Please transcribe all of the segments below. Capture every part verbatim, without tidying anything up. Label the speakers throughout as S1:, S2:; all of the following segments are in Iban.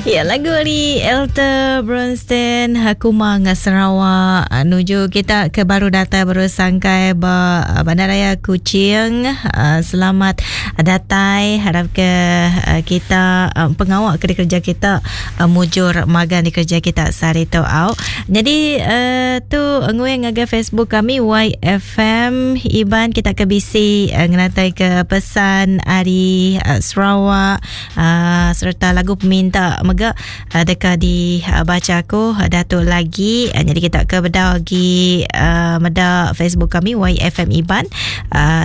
S1: Ya, lagu ari Elter Bronstein Kumang Sarawak nuju kita ke baru datai baru sangkai ba Bandaraya Kuching. Selamat datai, harap ke kita pengawak ke kerja kita mujur magang di kerja kita sehari tu au. Jadi tu nguing ngagai Facebook kami Y F M Iban, kita ke bisi ngenatai ke pesan ari Sarawak serta lagu peminta mega deka dibaca aku datuk lagi. Jadi kita ke bedau lagi meda Facebook kami Y F M Iban,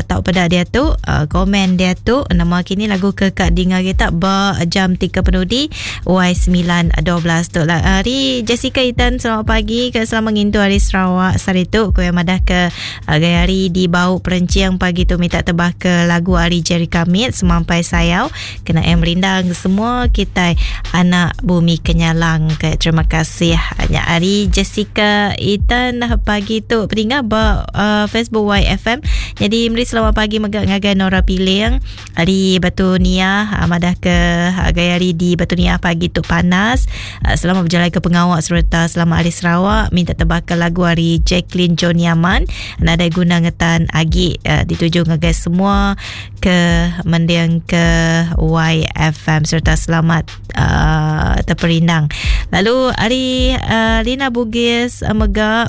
S1: tau peda dia tu, komen dia tu nama kini lagu ke kak dengar kita ba jam tiga penudi Y sembilan dua belas tu lah. Hari Jessica Itan, selamat pagi ke selamat ngintu hari Sarawak sehari tu. Ku yang madah ke gaya hari di bau perencing pagi tu minta tebah ke lagu hari Jerry Kamit Semampai Sayau kena em rindang semua kita anak bumi Kenyalang ke. Terima kasih hanya hari Jessica Itan pagi tu peninga ba uh, Facebook Y F M. Jadi meri selamat pagi mega ngagai Nora Piling hari Batu Nia, madah ke gaya hari di Batu Nia pagi tu panas. Selamat berjalan ke pengawak serta selamat hari Sarawak. Minta tebah ke lagu hari Jacqueline John Yaman nadai guna ngetan agi, uh, dituju ngagai semua ke mendiang ke Y F M serta selamat uh, terperindang. Lalu hari uh, Lina Bugis uh, mega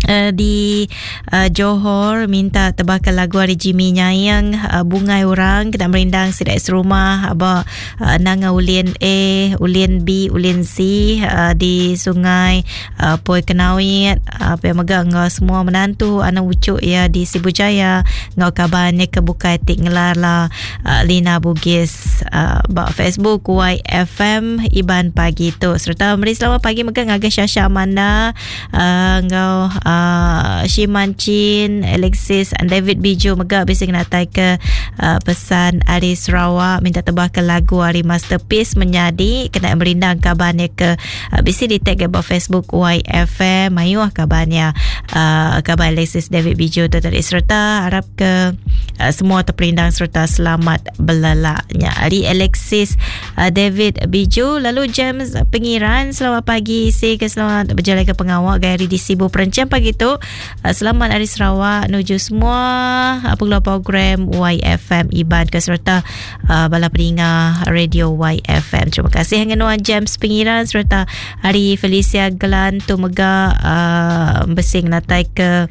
S1: Uh, di uh, Johor minta tebakan lagu hari Jimmy Nyayang uh, Bungai Orang kena merindang sidak serumah aba uh, nanga ulin A, ulin B, ulin C uh, di Sungai uh, Poi Kenawit uh, uh, mega ngau semua menantu anak ucuk ya di Sibu Jaya ngau kabarnya ke bukai tik ngelala uh, Lina Bugis uh, ba Facebook Y F M Iban pagi tu. Serta meri selamat pagi mega ngagai Syasha Amanda uh, ngau uh, Uh, Shiman Chin, Alexis and David Biju mega bisa kenatai ke uh, pesan ari Sarawak minta tebah ke lagu ari Masterpiece Menyadi kena merindang kabarnya ke uh, bisa di tag ke Facebook Y F M mayuh kabarnya uh, kabar Alexis David Biju tu tadi. Serta harap ke uh, semua terperindang serta selamat belalaknya ari Alexis uh, David Biju. Lalu James Pengiran, selamat pagi si ke selamat berjalan ke pengawak gaya di Sibu Perencang pagi tu. Selamat hari Sarawak nuju semua pengeluar program Y F M Iban ke serta uh, bala peninga radio Y F M. Terima kasih dengan Nuan James Pengiran serta hari Felicia Glan tu mega uh, bersing natai ke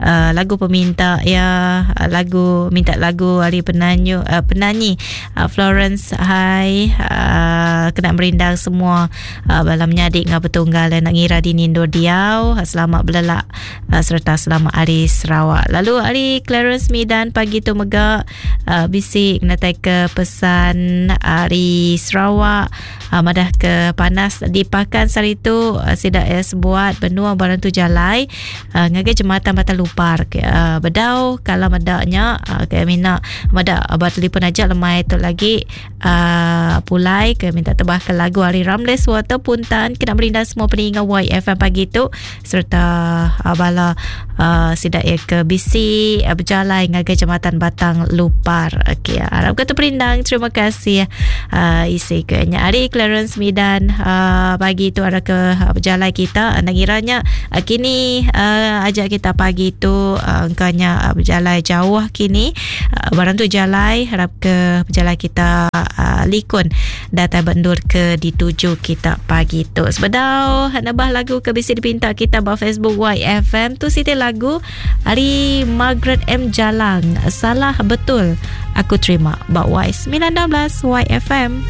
S1: uh, lagu peminta ya, lagu minta lagu hari penanyi uh, penyanyi uh, Florence Hai uh, kena merindang semua uh, bala menyadik ngah betunggal dan nak ngira di Nindo Diau. Selamat belelak uh, serta selamat hari Sarawak. Lalu hari Clarence Midan pagi tu mega uh, bisik natai ke pesan hari Sarawak uh, madah ke panas di Pakan sehari tu uh, sidak es buat benua barang tu jalai uh, ngagai jematan Batang Lupar ke, uh, bedau kalau medaknya uh, ke mina medak abad telefon aja lemai tu lagi uh, pulai ke minta tebah ke lagu hari Ramles Water Puntan kena merindang semua peninga Y F M pagi tu serta uh, bala uh, sidak ya ke B C uh, berjalan ngagai jematan Batang Lupar. Okey, harap kata perindang. Terima kasih uh, isi ke nya hari Clarence Midan uh, pagi tu ada ke uh, berjalan kita nak kiranya uh, kini uh, ajak kita pagi tu uh, engkaunya uh, berjalan jauh kini uh, barang tu jalan harap ke berjalan kita uh, likun data bendur ke dituju kita pagi tu. Sebedau nambah lagu ke bisi dipinta kita ba Facebook Y F M tu siti lagu hari Margaret M Jalang Salah Betul Aku Terima ba Y sembilan belas Y F M.